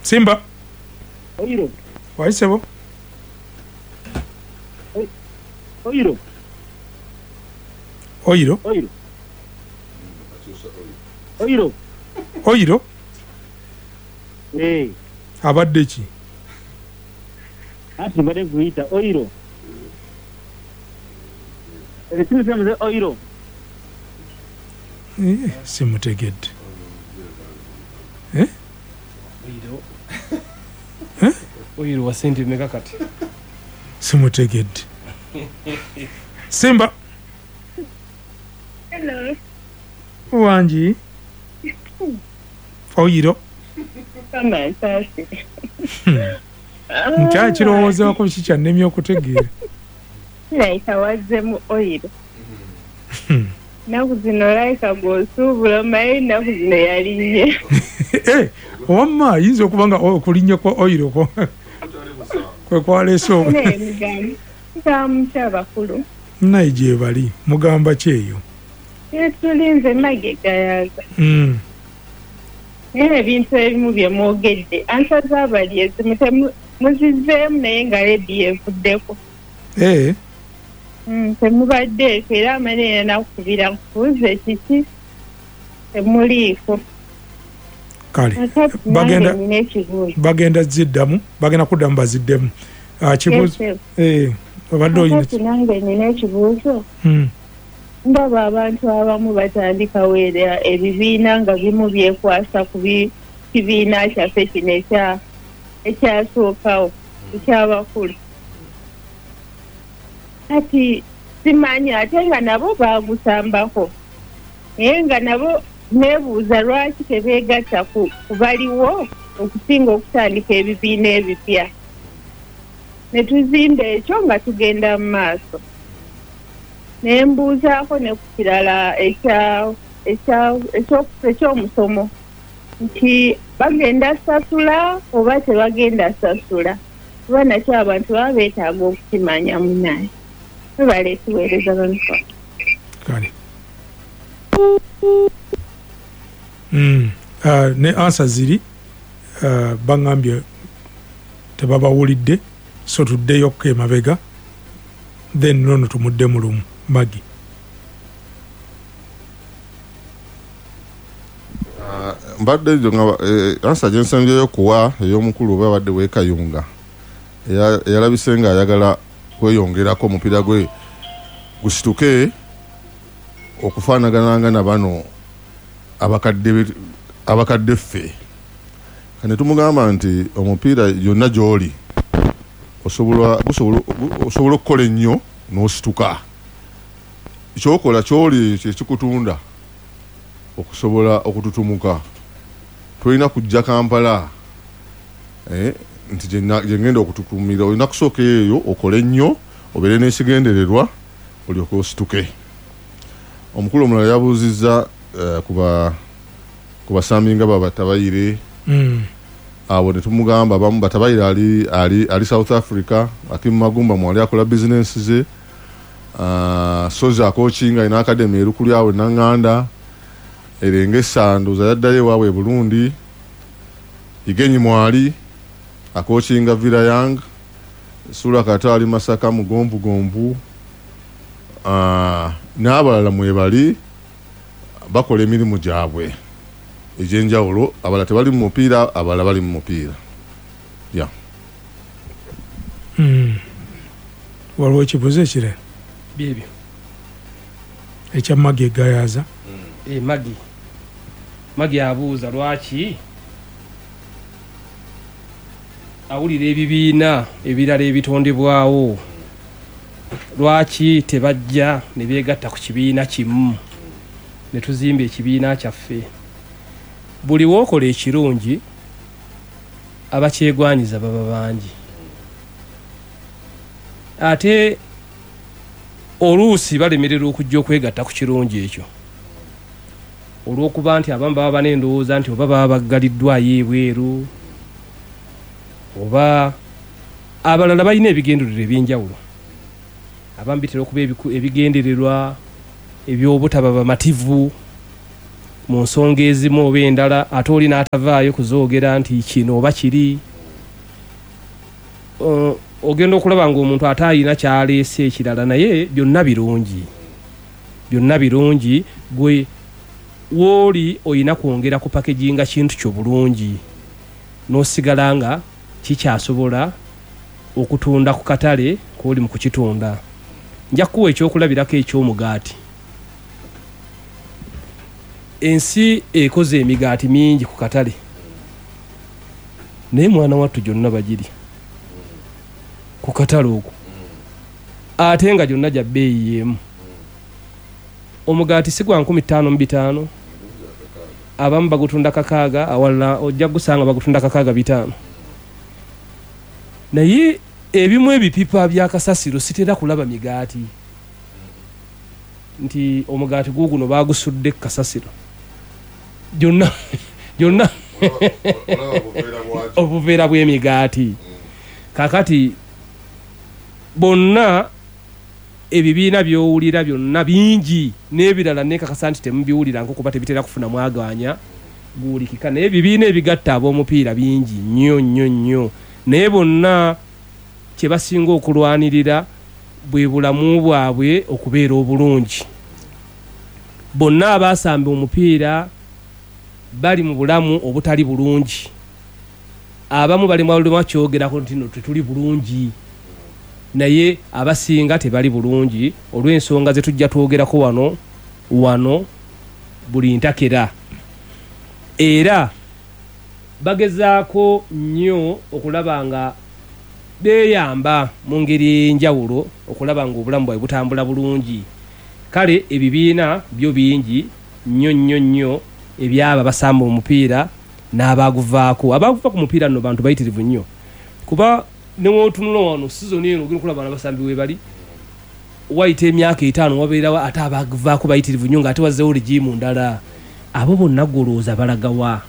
Simba. Oiro. Wai sebo. Oiro. Oiro. Oiro. Oiro. Oiro. Eh. Abadde ki? Anti mbadde nkuyita oiro. Ekimu oiro. Eh, simutegedde. Eh? Oiro. Eh? Oiro wa sente meka kati? Simutegedde. Simba. Hello. Wangi. Oiro. Kama nsaasi. Nkyakirowoozaako kiki kyannemye okutegeera. Kirabika wazzemu oyiro. Ennaku zino olabika gw'osuubula omanyi ennaku zino yalinnye. Eh, wamma ayinza okuba nga okulinnya kwa oyiro kwe kwaleese obu. Naye mugamba mugamba mutya abakulu? Naye gyebali mugamba ki eyo? Tulinze Maggie Gayaza. Naye ebintu ebimu bye mwogedde ansa z'abali ezimu muzizzeemu naye nga leediyo evuddeko. Eh. Temubaddeeko era amala nakukubira nkubuuze kiki temuliiko. Kale Kakati nange bagenda nina ekibuuzo. Bagenda ziddamu, bagenda kuddamu baziddemu. Kibuuzo. Yes, Eh, obadde olina Kakati nange nina ekibuuzo. Ndaba abantu abamu batandikawo era ebibiina nga bimu byekwasa ku kibiina kyaffe kino ekyasookawo ekyabakulu. Kati simanyi ate nga nabo baagusambako naye nga nabo neebuuza lwaki tebeegatta ku baliwo okusinga okutandika ebibiina ebipya. Ne tuzimba ekyo nga tugenda mu maaso. Ne mbuuzaako ne ku kirala eky'omusomo nti bagenda sasula oba tebagenda sasula, kuba nakyo abantu baba beetaaga okukimanya munnaye. Webale tuweereza bamikono. Kale. Ne ansa ziri baŋŋambye tebabawulidde, so tuddeyo ko emabega then nono tumudde mu lumu. Maggie. Mbadde nga ansa gye nsembyeyo kuwa ey'omukulu oba abadde w'e Kayunga eyalabise ng'ayagala kweyongerako omupiira gwe gusituke okufaanagana nga na bano abakadde ffe. Kane tumugamba nti omupiira yonna gy'oli osobola okukola ennyo n'osituka. Kyokola kyoli kyekikutunda okusobola okututumuka. Tolina kujja Kampala nti gye ngenda okututumira, olina kusooka eyo okole ennyo obeere n'ekigendererwa olyoke osituke. Omukulu omulala yabuuzizza ku basambi nga Batabayire. Abo ne tumugamba abamu Batabayire ali South Africa, Akim Magumba mwali akola bizinensi ze, Sozi akokinga alina academy erukuli awo e Naŋŋanda, Erengesa ndowooza yaddayo ewaabwe e Burundi, Igenyi mwali akokinga Villa Young, Sula Kato ali Masaka mugonvugonvu, n'abalala mwebali bakola emirimu gyabwe egy'enjawulo, abalala tebali mu mupiira, abalala bali mu mupiira. Yeah. Waliwo ekibuuzo ekirala? Byebyo. Ekya Maggie Gayaza. Maggie. Maggie abuuza lwaki awulira ebibiina ebirala ebitondebwawo, lwaki tebajja ne beegatta ku kibiina kimu ne tuzimba ekibiina kyaffe. Buli w'okola ekirungi abakyegwanyiza baba bangi, ate oluusi balemererwa okujja okwegatta ku kirungi ekyo olw'okuba nti abamu baba n'endowooza nti oba baba baggaliddwayo ebweru oba abalala balina ebigendererwa ebyenjawulo. Abamu bitera okuba ebigendererwa eby'obutaba bamativu. Mu nsonga ezimu oba endala, ate oli n'atavaayo kuzoogera nti kino oba kiri. Ogenda okulaba ng'omuntu ate alina kyaleese ekirala, naye byonna birungi, byonna birungi. Gwe wooli oyina kwongera ku packaginga kintu kyo bulungi, n'osigala nga kikyasobola okutunda ku katale k'oli mu kukitunda. Nja kukuwa ekyokulabirako eky'omugaati. Ensi ekoze emigaati mingi ku katale, naye mwana wattu gyonna bagirya ku katale okwo, ate nga gyonna gya bbeeyi y'emu. Omugaati si gwa 5500, abamu bagutunda 6, awalala ojja gusanga bagutunda 65. Naye ebimu ebipipa bya kasasiro sitera kulaba migaati nti omugaati guguno bagusudde kasasiro gyonna gyonna obuveera bw'emigaati. Kakati bonna ebibiina by'owulira byonna bingi, n'ebirala nekakasa nti temubiwulira nko kuba tebitera kufuna mwaganya guwulikika, naye ebibiina ebigatta ab'omupiira bingi nnyo nnyo nnyo. Naye bonna kye basinga okulwanirira bwe bulamu bwabwe okubeera obulungi. Bonna abaasamba omupiira bali mu bulamu obutali bulungi. Abamu bali mu kyogerako nti no tetuli bulungi, naye abasinga tebali bulungi olw'ensonga ze tujja twogerako wano wano buli ntakera. Era bagezaako nnyo okulaba nga beeyamba mu ngeri ey'enjawulo okulaba nga obulamu bwabwe butambula bulungi. Kale ebibiina byo bingi nnyo nnyo nnyo ebyaba basamba omupiira n'abaguvaako. Abaguva ku mupiira nno bantu bayitirivu nnyo, kuba newotunula wano sizoni eno ogenda okulaba abasambi we bali, wayita emyaka 5 wabeerawo ate abaguvaako bayitirivu nnyo, ng'ate wazzeewo rigiimu ndala. Abo bonna golowooza balagawa?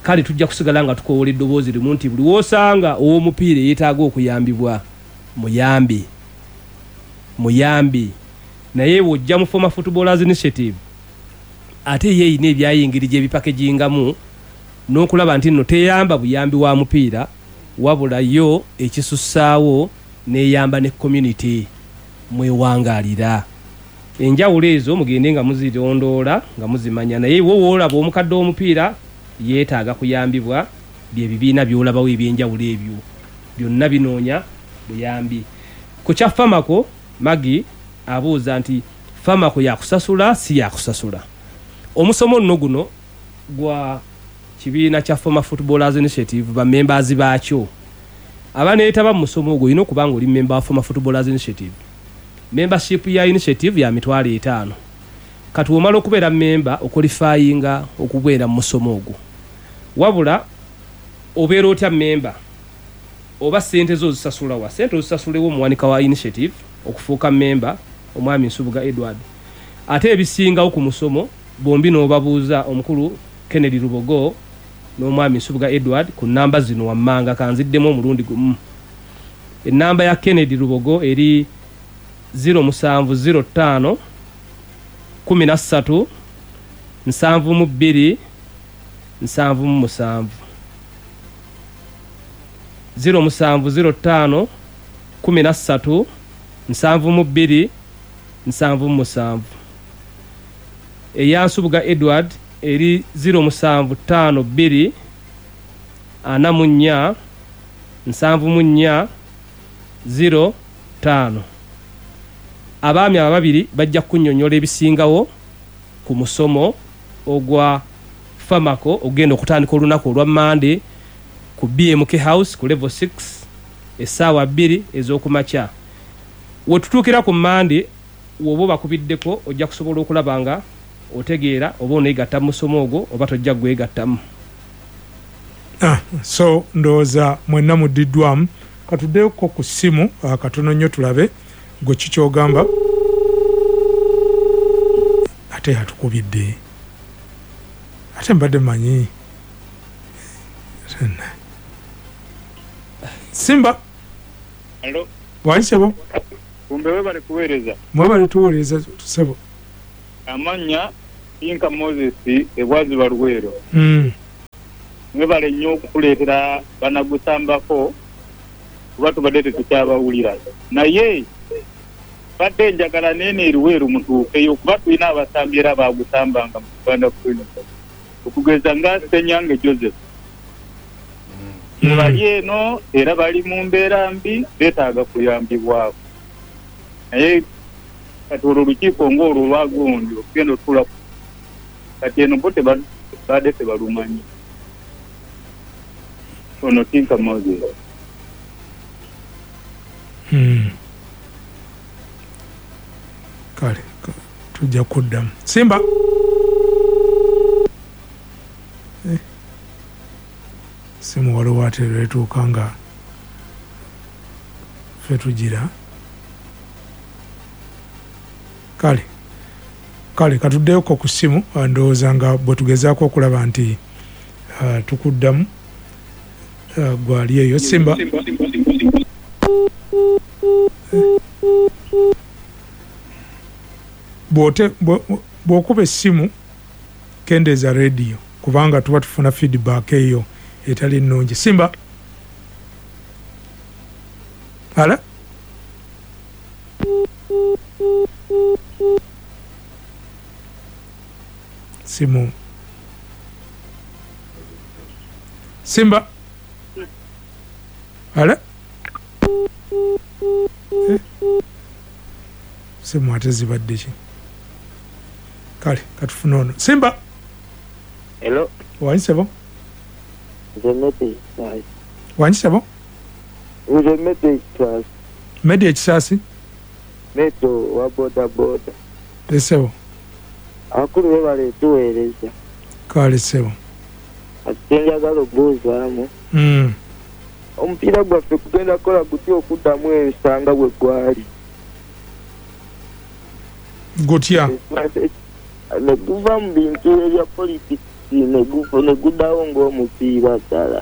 Kale tujja kusigala nga tukoowola eddoboozi limu nti buli w'osanga ow'omupiira eyeetaaga okuyambibwa, muyambe, muyambe. Naye bw'ojja mu Former Footballers Initiative, ate ye erina ebyayingiri gy'ebipackagingamu n'okulaba nti nno teyamba buyambi wa mupiira, wabula yo ekisussaawo n'eyamba ne community mwewangaalira. Enjawulo ezo mugende nga muzirondoola nga muzimanya. Naye wo woolaba omukadde w'omupiira yeetaaga kuyambibwa, bye bibiina by'olabawo ebyenjawulo ebyo byonna binoonya buyambi. Ku kya FAMACO, Magi abuuza nti FAMACO yakusasula si yakusasula? Omusomo nno guno gwa kibiina kya Former Footballers Initiative, bamembers baakyo abaneetaba mu musomo ogwo olina okuba nga oli memba wa Former Footballers Initiative. Membership ya initiative ya 50,000. Kati womala okubeera memba, oqualifyinga okubeera mu musomo ogwo. Wabula obeera otya memba, oba sente zo ozisasula wa? Sente ozisasulewo omuwanika wa initiative okufuuka memba, omwami Nsubuga Edward. Ate ebisingawo ku musomo bombi n'obabuuza omukulu Kennedy Lubogo n'omwami Nsubuga Edward ku namba zino wammanga. Kanziddemu omulundi gumu. Enamba ya Kennedy Lubogo eri 0705 13 72 77, 0705 13 72 77. Eya Nsubuga Edward eri 0752 44 74 05. Abaami aba babiri bajja kunnyonnyola ebisingawo ku musomo ogwa FAMACO ogenda okutandika olunaku olwa Mande ku BMK House ku level 6 essaawa 2 ez'okumakya. Wetutuukira ku Mande, woba obakubiddeko ojja kusobola okulaba nga otegeera oba oneegatta mu musomo ogwo oba tojja gwegattamu. So ndowooza mwenna muddiddwamu. Katuddeko ku ssimu katono nnyo tulabe gwe kikyogamba. Ate yatukubidde, ate mbadde manyi Simba. Hello. Waisebo. Kumbe webale kuweereza. Mwebale tuweereza, sebo. Amannya Inka Moses ebwaziba Luweero. Mwebale nnyo okutuleetera banagusambako kuba tubadde tetukyabawulira. Naye badde njagala neeno e Luweero mutuukeyo kuba tulina abasambi era baagusambanga mu Uganda Cranes. Okugeza nga Ssenyange Joseph. Bali eno era bali mu mbeera mbi beetaaga kuyambibwako. Naye kati olwo olukiiko ng'olwo olwa gundi okugenda otuula kati eno bo tebadde tebalumanyi. Ono Tinka Moses. Kale tujja kuddamu. Simba. Simu waliwo ate lwetuuka nga ffe tugira. Kale kale katuddeyoko ku ssimu, ndowooza nga bwe tugezaako okulaba nti tukuddamu gwali eyo. Simba. Bw'okuba essimu kendeeza radio kubanga tuba tufuna feedback eyo etali nnungi. Simba. Ala? Simu. Simba. Ala? Simu ate zibadde ki? Kale katufune ono. Simba. Hello. Wangi sebo? Nze Medi Ekisasi. Wangi sebo? Nze Medi Ekisasi. Medi Ekisasi? Medo wa boda boda. Esebo. Abakulu be baletuweereza. Kale sebo. Ate njagala okubuuzaamu. Omupiira gwaffe kugenda kukola gutya okuddamu ensanga bwe gwali? Gutya? Ne guva mu bintu ebya politics ne guddawo ng'omupiira ddala.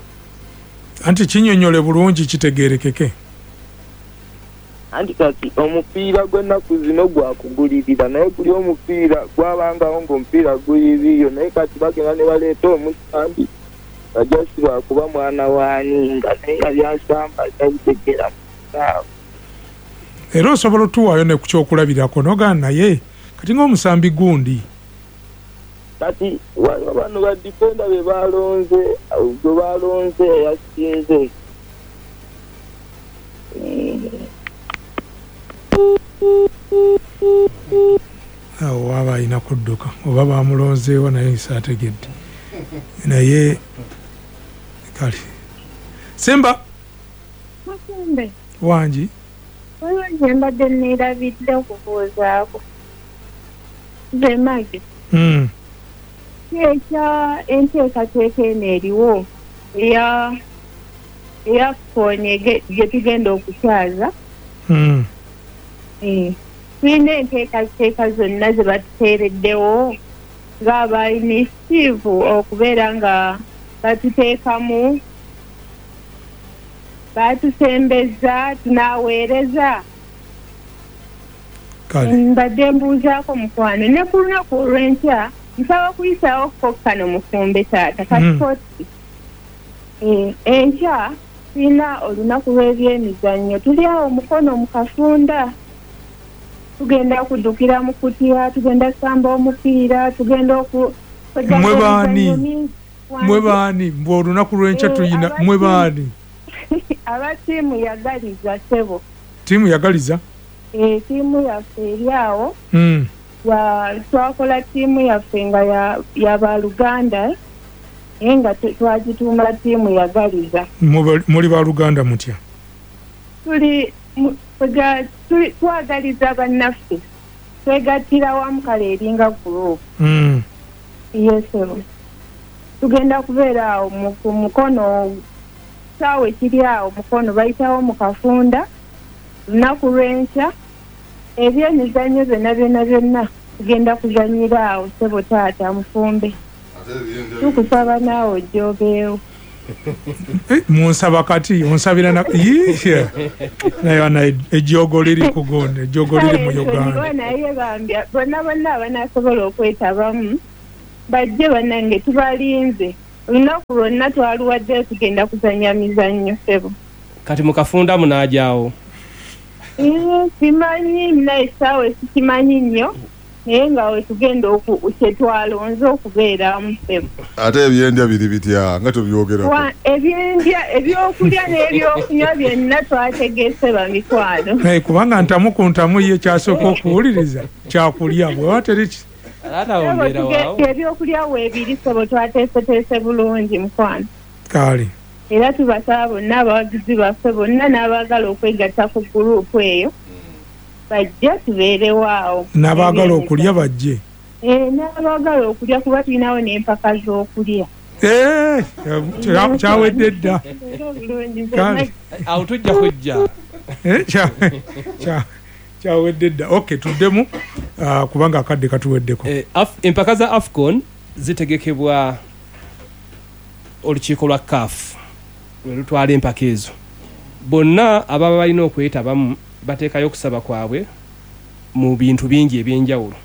Anti kinnyonnyole bulungi kitegeerekeke. Anti kati omupiira gw'ennaku zino gwakugulirira naye guli omupiira gwabangawo ng'omupiira guyiriyo naye kati bagenda ne baleeta omusambi bajasi bakuba mwana waani nga naye nga byasamba tabitegera mu kisaawe. Era osobola otuwaayo ne ku kyokulabirako n'ogamba naye kati ng'omusambi gundi. Kati waliwo bano ba defender be balonze gwe balonze eyasinze. Awo waba alina kudduka oba bamulonzeewo naye saategedde. Naye kale. Simba. Masembe. Wangi. Waliwo gye mbadde neerabidde okubuuzaako. Nze Maggie. Ekya enteekateeka eno eriwo eya AFCON gye tugenda okukyaza. Tulina enteekateeka zonna ze batuteereddewo ng'aba initiative okubeera nga batuteekamu, batusembeza, tunaaweereza. Mbadde mbuuzaako mukwano ne ku lunaku olw'enkya nsaba kuyisaawo kano mufumbe taata kasikoti. Enkya tulina olunaku lw'ebyemizannyo, tuli awo Mukono mu Kafunda, tugenda kuddukira mu kutya, tugenda kusamba omupiira, tugenda oku Mwe baani? Mwe baani? Mbu olunaku lw'enkya tulina mwe baani? Aba ttiimu yagaliza ssebo. Ttiimu yagaliza? Ttiimu yaffe eri awo. Twakola ttiimu yaffe nga ya baluganda naye nga twagituuma ttiimu yagaliza. Muli baluganda mutya? Twagaliza bannaffe, twegattira wamu kale eringa group. Yes sir. Tugenda kubeera awo ku Mukono, kisaawe kiri awo Mukono bayitawo mu Kafunda lunaku lw'enkya. Ebyemizannyo byonna byonna byonna tugenda kuzannyira awo ssebo taata mufumbe. Tukusaba naawe ojja obeewo. Munsaba kati onsabira na naye ejjogo liri kugonda, ejjogo liri mu Uganda. Naye bambya bonna bonna abanasobola okwetabamu bajje bannange, tubalinze olunaku lwonna twaluwaddeyo tugenda kuzannya mizannyo ssebo. Kati mukafunda munaajaawo? Simanyi naye essaawa sikimanyi nnyo, naye nga wetugenda kyetwalonze okubeeramu ssebo. Ate ebyendya biri bitya nga tubyogerako? Ebyendya, ebyokulya n'ebyokunywa byonna twategese bamikwano. Naye kubanga ntamu ku ntamu ye kyasooka okuwuliriza kyakulya bweba teri ebyokulya weebiri ssebo, twateeseteese bulungi mukwano. Kale era tubasaba bonna abawagizi baffe bonna n'abaagala okwegatta ku guruupu eyo bajje tubeerewo awo. N'abaagala okulya bajje. N'abaagala okulya kuba tulinawo n'empaka z'okulya. Kyawedde dda. Awo tujja kujja. Kyawedde dda. Okay, tuddemu kubanga akadde katuweddeko. Empaka za AFCON zitegekebwa olukiiko lwa CAF lwe lutwala empaka ezo. Bonna ababa balina okwetabamu bateekayo okusaba kwabwe mu bintu bingi ebyenjawulo.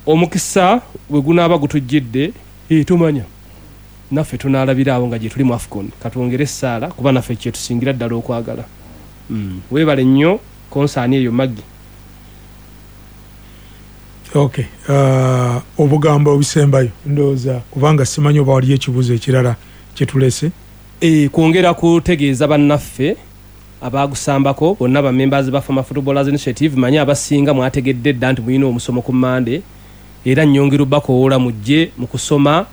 Omukisa bwe gunaaba gutujjidde, tumanya naffe tunaalabira awo nga gye tuli mu AFCON. Katwongere essaala kuba naffe kye tusingira ddala okwagala. Weebale nnyo konsaani eyo Maggie. Okay, obugambo obusembayo ndowooza kubanga simanyi oba waliyo ekibuuzo ekirala kye tulese. Kwongera kutegeeza bannaffe abagusambako bonna ba members ba Former Footballers Initiative, manyi abasinga mwategedde dda nti mulina omusomo ku Mmande, era nnyongera obbakowoola mujje mu kusoma,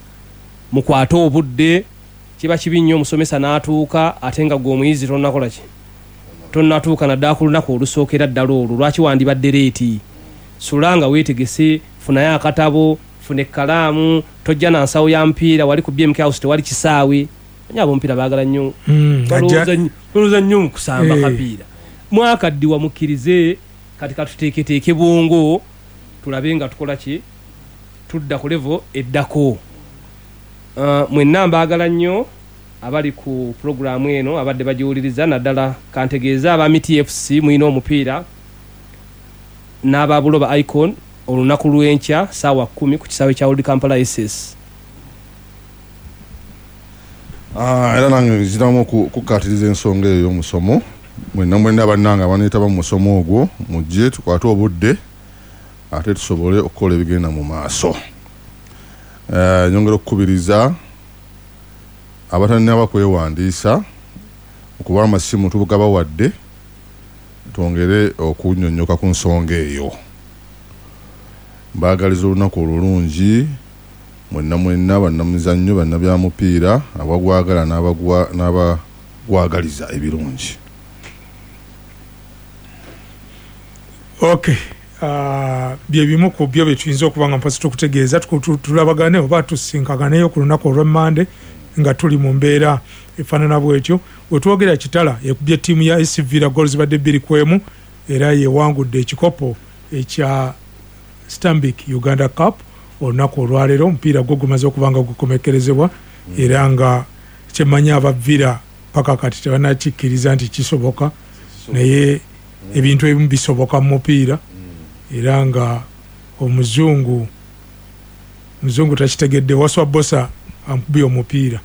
mukwate obudde. Kiba kibi nnyo omusomesa n'atuuka ate nga gwe omuyizi tonnakola ki, tonnatuuka naddala ku lunaku olusookera ddala olwo. Lwaki wandibadde leeti? Sula nga weetegese, funayo akatabo, funa ekkalaamu, tojja na nsawo ya mpiira. Wali ku BMK House tewali kisaawe. Manyi ab'omupiira baagala nnyo, balowooza nnyo mu kusamba kapiira. Mwakaddiwa mukkirize, kati katuteeketeeke bwongo tulabe nga tukola ki, tudda ku level eddako. Mwenna mbaagala nnyo abali ku pulogulaamu eno abadde bagiwuliriza, naddala kantegeeze aba Miti FC mulina omupiira n'aba Buloba Icon olunaku lw'enkya ssaawa 10 ku kisaawe kya Old Kampala SS. Era nange nziramu okukkaatiriza ensonga eyo y'omusomo. Mwenna mwenna bannange abaneetaba mu musomo ogwo mujje tukwate obudde ate tusobole okukola ebigenda mu maaso. Nyongera okukubiriza abatannaba kwewandiisa okuba amasimu tugabawadde twongere okunnyonnyoka ku nsonga eyo. Mbaagaliza olunaku olulungi mwenna mwenna bannamizannyo, bannabyamupiira, abagwagala n'abagwagaliza ebirungi. Okay, bye bimu ku byo bye tuyinza okuba nga mpozi tukutegeeza, tulabagane oba tusinkaganeyo ku lunaku olw'Emmande nga tuli mu mbeera efaanana bwetyo. Wetwogera Kitala ekubye ttiimu ya SC Villa goals zibadde 2-1 era yewangudde ekikopo ekya Stanbic Uganda Cup olunaku olwaleero. Omupiira gwo gumaze okuba nga gukomekkerezebwa era nga kyemmanyi aba Villa paka kati tebannakikkiriza nti kisoboka, naye ebintu ebimu bisoboka mu mupiira era nga omuzungu takitegedde. Waswa Bosa amukubye omupiira.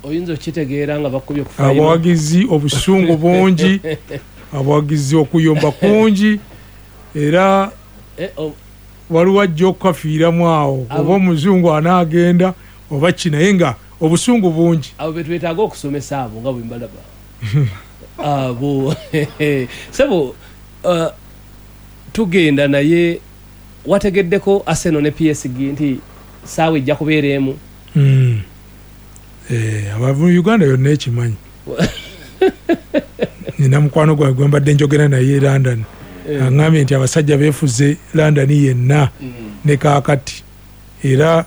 Oyinza okukitegeera nga bakubye ku final. Abawagizi obusungu bungi, abawagizi okuyomba kungi, era waliwo ajja okukafiiramu awo oba omuzungu anaagenda oba ki, naye nga obusungu bungi. Abo be twetaaga okusomesa abo nga bwe mbalaba abo sebo. Tugenda naye wategeddeko Arsenal ne PSG nti saawa ejja kubeera emu. Abavu Uganda yonna ekimanyi. Nina mukwano gwange gwe mbadde njogera naye e London, aŋŋambye nti abasajja beefuze London yenna ne kaakati era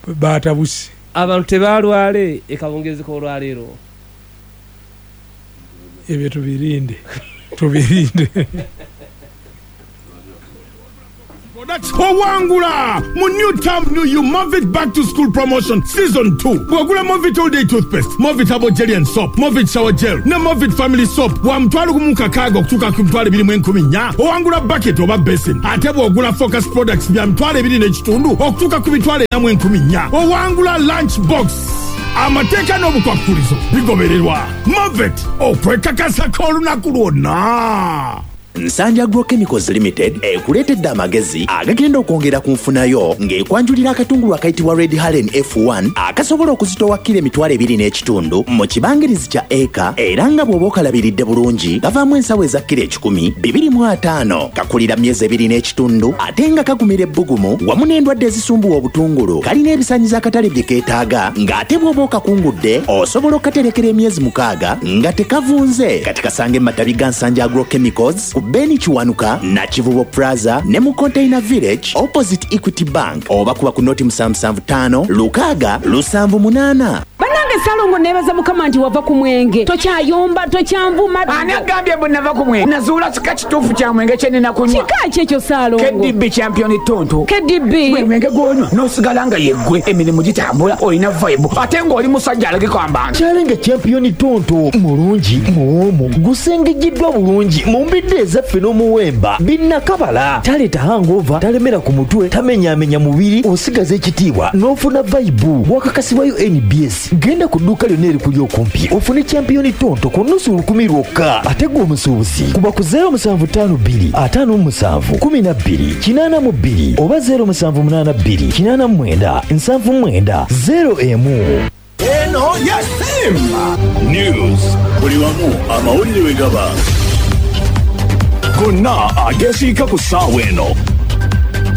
baatabuse. Abantu tebaalwale ekawungeezi k'olwaleero. Ebyo tubirinde, tubirinde. What? Owangula mu New Term New You Movit Back to School Promotion Season 2. Bw'ogula Movit All Day Toothpaste, Movit Herbal Jelly and Soap, Movit Shower Gel ne Movit Family Soap wa 1,600 okutuuka ku 2,400, owangula bucket oba basin. Ate bw'ogula Focus Products bya 2,500 okutuuka ku 4,400, owangula lunch box. Amateeka n'obukwakulizo bigobererwa. Movit, okwekakasako olunaku lwonna. Nsanja Agro Chemicals Limited ekuleetedde amagezi agagenda okwongera ku nfunayo ng'ekwanjulira akatungulu akayitibwa Red Halen F1 akasobola okuzitowa kilo 2,500 mu kibangirizi kya eka, era nga bw'oba okalabiridde bulungi kavaamu ensawo eza kilo 125. Kakulira myezi 2.5 ate nga kagumira ebbugumu wamu n'endwadde ezisumbuwa obutungulu. Kalina ebisaanyizo akatale bye keetaaga, ng'ate bw'oba okakungudde osobola okukaterekera emyezi 6 nga tekavunze. Kati kasange mu matabi ga Nsanja Agro Chemicals ku Beni Kiwanuka, Nakivubo Plaza ne mu Container Village opposite Equity Bank, oba kuba ku noti 775 6 78. Bannange Ssalongo, neebaza Mukama nti wava ku mwenge, tokyayomba, tokyanvuma. Ani agambye mbu nava ku mwenge? Nazuula kika kituufu kya mwenge kye nnina kunywa. Kika ki ekyo, Ssalongo? KDB Champion Tonto. KDB? Gwe mwenge gw'onywa n'osigala nga yeggwe, emirimu gitambula, olina vibe, ate ng'oli musajja alagika abantu. Kyalenga Champion Tonto mulungi, muwoomu, gusengejjeddwa bulungi mu mbidde ezaffe n'omuwemba binnakabala. Taleeta hangover, talemera ku mutwe, tamenyaamenya mubiri, osigaza ekitiibwa n'ofuna vibe. Wakakasibwayo NBS. Genda ku dduuka lyonna erikuli okumpi ofune Champion Tonto ku 500 lwokka. Ate gwe omusuubuzi kuba ku 0752 57 12 82 oba 0782 89 79 01. Eno ya Simba News, buli wamu amawulire we gaba gonna agesiika ku ssaawa eno.